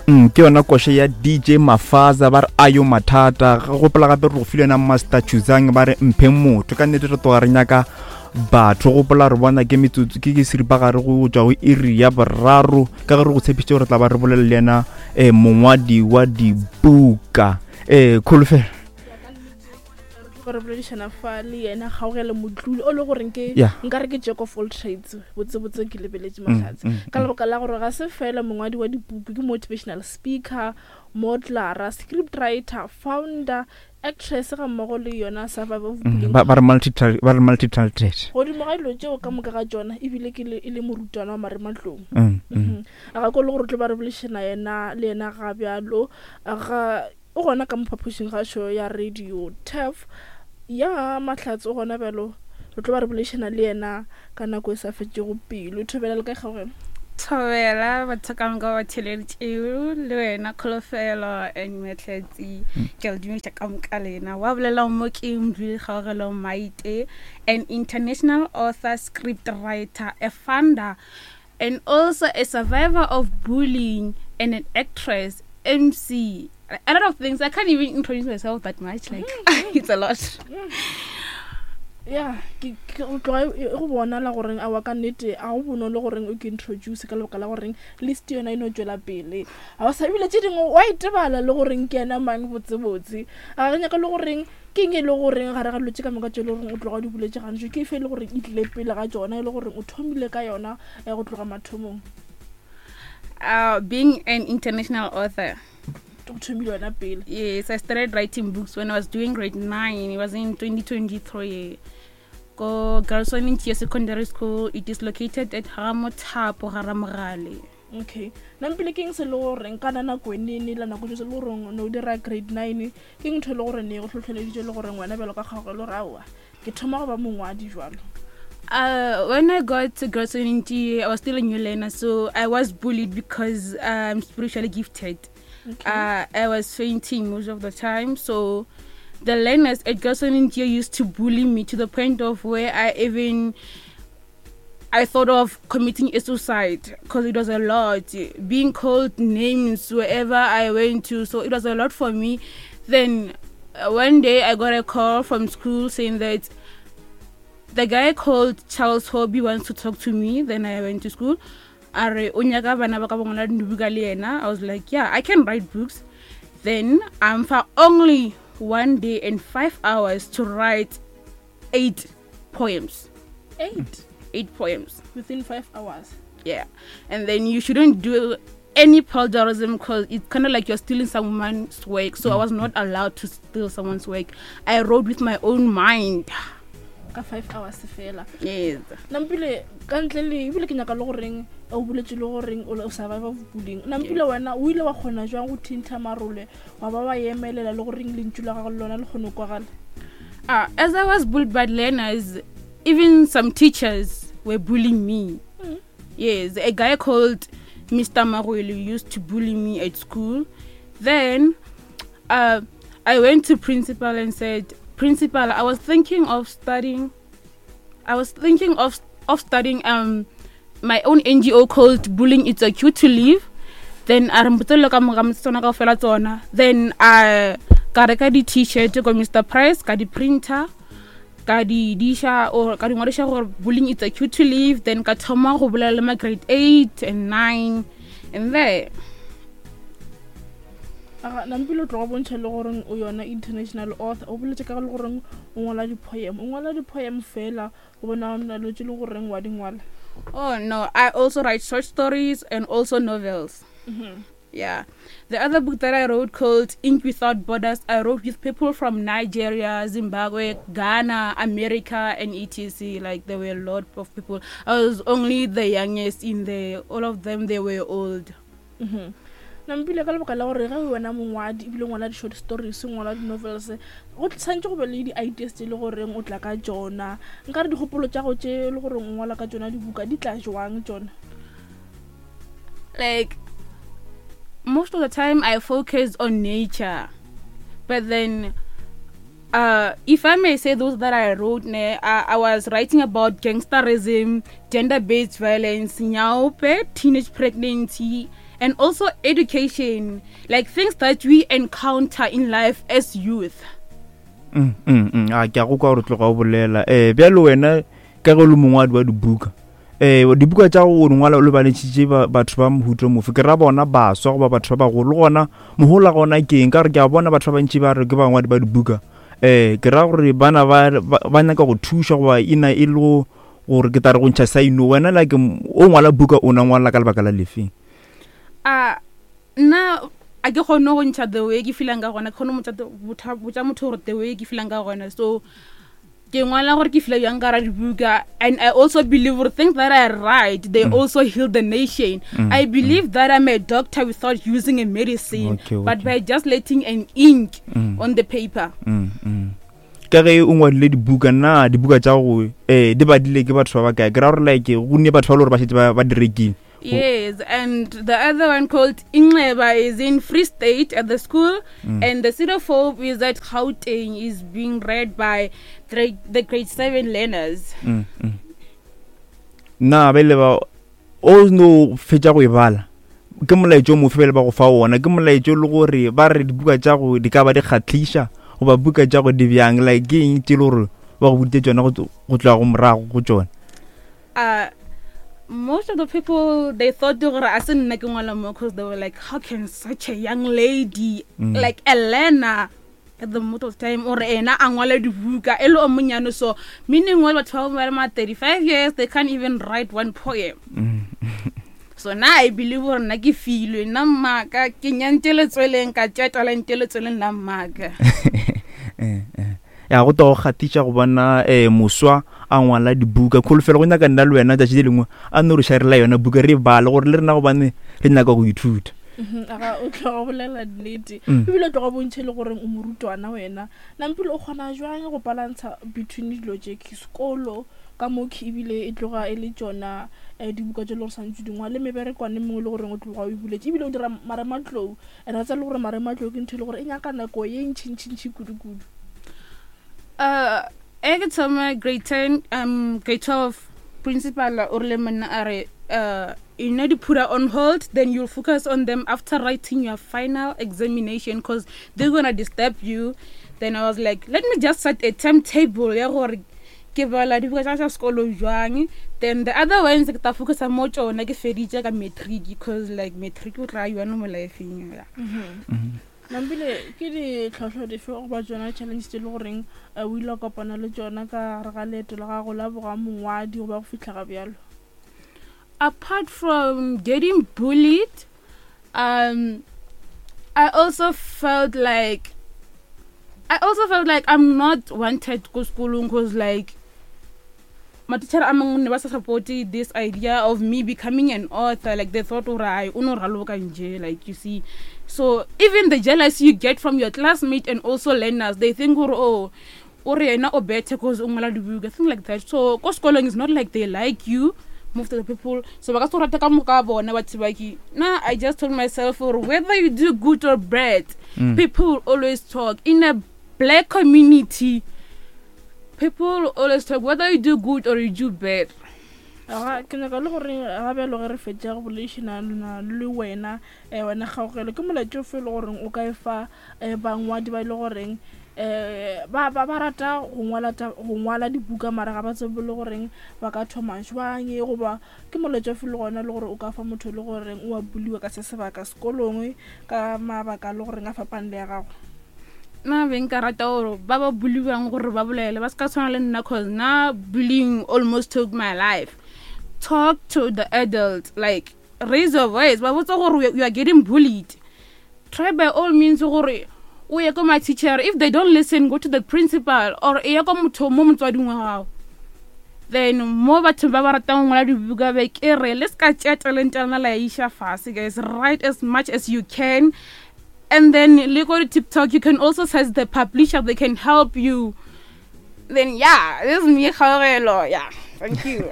Mm, ke yona koša ya DJ Mafaza ba re ayo mathata. Ga gopola gape re go file yona Master Chuzang ba re mphe motho. Ka nnete re tloga re nyaka batho. Gopola re bona ke metsotso ke ke seripagare go tšwa go iri ya boraro ka ge re go tshepišitše gore tla ba re bolela le yena um mongwadi wa dibuka um kholofelo re boledišana fa le yena gaogele motluli o le goreng ke nka re ke jack of all trades botsebotse ke lebeletše mm, mahlatse mm, ka mm. lebaka la gore ga se fela mongwadi wa dipuku ke motivational speaker modelara script writer founder actress ga mmogo le yona survival of bullying ba re multi-talented godimo ga dilo tšeo ka moka ga tšona ebile ke e le morutwana wa marematlong mhm. a ga ko le gore tlo ba re boledišana yena le yena ga bjalo ga O gona ka mo phapošinggašo ya radio Turf ya Mahlatse o gona bjalo. Re tlo ba re boledišana le yena ka nako e sa fetšego pelo. Thobela le kae kgaogelo? Thobela batho ka moka ba theleditšego le wena Kholofelo and Mahlatse. Ke a le dumediša ka moka lena. Wa bolela mo ke Mdluli Kgaogelo Maite, an international author, script writer, a founder and also a survivor of bullying and an actress, MC, a lot of things. I can't even introduce myself that much. Like, mm. it's a lot. Mm. ya ke go tloga e, e go bonala goreng a wa ka nnete a go bonolo goreng o ke introduce ka lebaka la goreng list yona e no tšwela pele ga o sa ebile tše dingwe wa itebala le goreng ke ena mang botsebotse a re nyaka le goreng Ke eng e le goreng gare ga dilo tše ka moka tše e le goreng o tloga o di boletše gantši, ke efe e le goreng e tlile pele ga tšona, e le goreng o thomile ka yona eh, go tloga mathomong? Being an international author. O thomile yona pele. Yes, I started writing books when I was doing grade 9. It was in 2023. Go Girls Ntia Secondary School. It is located at Ramothapo, Garamogale. Okay. Nampile ke eng se le goreng kana nako e nene la nako se le goreng o ne o dira grade 9 Ke ntho e le gore ne go hlohleleditše le gore ngwana bjalo ka kgago e le gore aowa ke thoma go ba mongwadi jwalo? When I got to Girls I was still a new learner, so I was bullied because I'm spiritually gifted. Okay. I was fainting most of the time, so the learners at Girls used to bully me to the point of where I even I thought of committing a suicide because it was a lot, being called names wherever I went to, so it was a lot for me. Then one day I got a call from school saying that the guy called Charles Hobby wants to talk to me. Then I went to school. A re o nyaka bana ba ka ba ngwala dibuka le yena. I was like, yeah, I can write books. Then I'm for only 1 day and 5 hours to write 8 poems. 8? 8 poems. Within 5 hours? Yeah. And then you shouldn't do any plagiarism because it's kind of like you're stealing someone's work. So I was not allowed to steal someone's work. I wrote with my own mind. Ka 5 hours fela. Yes. Nampile ka ntle le ebile ke nyaka le goreng o boletse le goreng o survive of bullying. Nampile wena o ile wa kgona jwang go thintha marole wa ba wa emelela le goreng lentšu la gago le lona le kgone go kwagala? As I was bullied by learners, even some teachers were bullying me. Yes, a guy called Mr. Maruelu used to bully me at school. Then I went to principal and said, Principal, I was thinking of studying. I was thinking of, of starting my own NGO called Bullying It's a Cure to Live. Then I re ka moka tsona kaofela tsona. Then I ka reka di-t-shirt ko Mr. Price, ka di-printer, ka di diša or ka di ngwadiša gore Bullying It's a Cure to Live. Then ka thoma go bolela le ma grade 8 and 9 and there. Aga, Nampile o tloga bontšha le goreng o yona international author. O boletse ka le goreng o ngwala di-poem. O ngwala di-poem fela go bona na le tše le goreng wa di ngwala? Oh no, I also write short stories and also novels. Yeah. The other book that I wrote called Ink Without Borders, I wrote with people from Nigeria, Zimbabwe, Ghana, America, and etc. Like there were a lot of people. I was only the youngest in there. All of them, they were old. Nampile ka lebaka la gore ge wena mongwadi ebile ngwala di-short stories, ngwala di-novels, go tshwanetse go be le di-ideas tse e le goreng o tla ka tšona. Nka re dikgopolo tša go tše e le goreng o ngwala ka tšona dibuka di tla jwang tšona? Like most of the time I focus on nature, but then If I may say those that I wrote, ne, I was writing about gangsterism, gender-based violence, nyaope, teenage pregnancy, and also education, like things that we encounter in life as youth. A ke a go kwa gore tloga o bolela um bjalo wena ka ge o le mongwadi wa dibuka um dibuka tša go ngwala o lebalentšhitše batho ba mohuto mofe ke ra bona baswa goba batho ba bagolo gona mohola gona ke eng ka gore ke a bona batho ba bantši ba re ke bangwadi ba dibuka um ke ra gore bana ba nyaka go thuša goba ena e le gore ke tla re go ntšha saino wena like o ngwala buka o na ngwala ka lebaka la lefeng a nna a ke kgone go ntšha the way ke feelang ka gona ke kgone go botša motho gore the way ke feelang ka gona so ke ngwala gore ke feel bjang ka ra dibuka and I also believe gore things that I write they also heal the nation I believe that I'm a doctor without using a medicine but by just letting an ink on the paper. Ka ge o ngwadile dibuka na dibuka tša go di badile ke batho ba bakae ke ra gore like go ne batho ba le gore ba šetše ba di rekile. Yes, and the other one called Inxeba is in Free State at the school, and the City of Hope is at Gauteng, is being read by the grade 7 learners. Na ba ile ba o no fetša go e bala ke molaetšo o mofe ba ile ba go fa wona ke molaetšo le gore ba re dibuka tša go di ka ba di kgahliša goba buka tša go di bjang like ke eng tše le gore ba go boditše tšona go tloga go morago go tšona? Most of the people they thought gore a se nna ke ngwala mo because they were like how can such a young lady like a learner at the most of time or ena a ngwala dibuka e le o monyane so meaning well batho ba ba ma 35 years they can't even write one poem. So now I believe gore nna ke filwe nna mmaka ke nyantše letsweleng ka tšea talente letsweleng la mmaka. Ya go to go kgatiša go bona moswa a ngwala dibuka kholofelo go nyaka nna le wena tšatši le lengwe a no re sharela yona buka re e bale gore le rena gobane re nyaka go ithuta. Aga o tloga bolela nnete ebile o tloga bontšhe le goreng o morutwana wena Nampile o kgona jwang go balantsha between dilo tše ke sekolo ka mokhi ebile e tloga e le tšona dibuka tše le gore santse di ngwale meberekwane mengwe le goreng o tloga o e buletše ebile o dira marematlou and wa tseba le gore marematlou ke ntho e le gore e nyaka nako ye ntšhintšhintšhi kudu-kudu. E ke thoma grade 10 grade 12 principal o rile monna a re you know to put her on hold then you'll focus on them after writing your final examination because they're gonna disturb you. Then I was like let me just set a timetable ya gore ke bala dibuka tša sekolo jwang then the other ones ke ta focusa mo tšona ke feditše ka matric because like matric o tla yone mo lifeng ya. Nampile ke ditlhohlo dife goba tšona challenge tše le goreng o ile wa kopana le tšona ka gare ga leeto la gago la boga mongwadi goba go fihla ga bjalo? Apart from getting bullied, I also felt like I'm not wanted ko sekolong because like my teacher a mangwe ne ba sa support this idea of me becoming an author, like they thought gore ai o no raloka nje, like you see. So even the jealousy you get from your classmate and also learners, they think gore oh o re yena o better cause o ngwala dibuka, thing like that. So ko sekolong is not like they like you, most of the people, so ba ka se go rata ka moka bona batho ba ke na. I just told myself gore whether you do good or bad, people always talk. In a black community, people always talk whether you do good or you do bad. Aga ke nyaka le gore ga bjalo ge re fetša go boledišana le wena wena Kgaogelo ke molaetša ofe e le goreng o ka e fa bangwadi ba e le goreng ba ba ba rata go ngwala go ngwala dibuka mara ga ba tsebe le goreng ba ka thoma jwang goba ke molaetša ofe le gona le gore o ka fa motho le goreng o a buliwa ka se sebaka sekolong ka mabaka le goreng a fapane le ya gago? Nna be nka rata gore ba ba buliwang gore ba bolele ba se ka tshwana le nna cause nna bullying almost took my life. Talk to the adults, like raise your voice, ba botsa gore you are getting bullied. Try by all means gore o ye ko my teacher, if they don't listen go to the principal or e ya ko motho mo motswading wa gago. Then mo batho ba ba ratang go ngwala dibuka be ke re le se ka tšea talente ya lena la iša fase guys, write as much as you can. And then le go to TikTok, you can also search the publisher, they can help you. Then yeah, this is me, Kgaogelo. Yeah, thank you.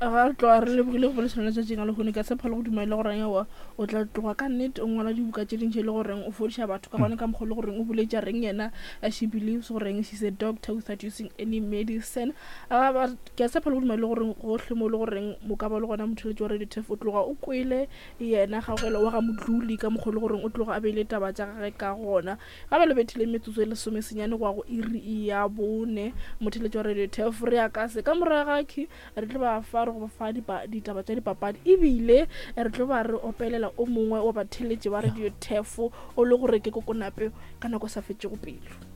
Ga re tloga re lebogile go boledišana letšatšing a lehono, ke a tshepa le go dumela le goreng ewa o tla tloga ka nnete o ngwala dibuka tše dintši e le goreng o fodiša batho ka gona ka mokgwa le goreng o boletša reng yena she believes goreng she's a doctor without using any medicine. Ke a tshepa le go dumela le goreng gohle mo le goreng mo ka ba le gona motheletši wa Radio Turf o tloga o kwele yena Kgaugelo wa ga Modluli ka mokgwa le goreng o tloga a beile taba tša gage ka gona. Ga bjale bethile metsotso e lesomesenyane go ya go iri ya bone. Motheletši wa Radio Turf re ya ka se ka morago ga key re tlo ba fa re go fa ditaba tša dipapadi ebile re tlo ba re opelela o mongwe wa batheletši ba Radio Turf o le gore ke kokonape ka nako e sa fetšego pelo.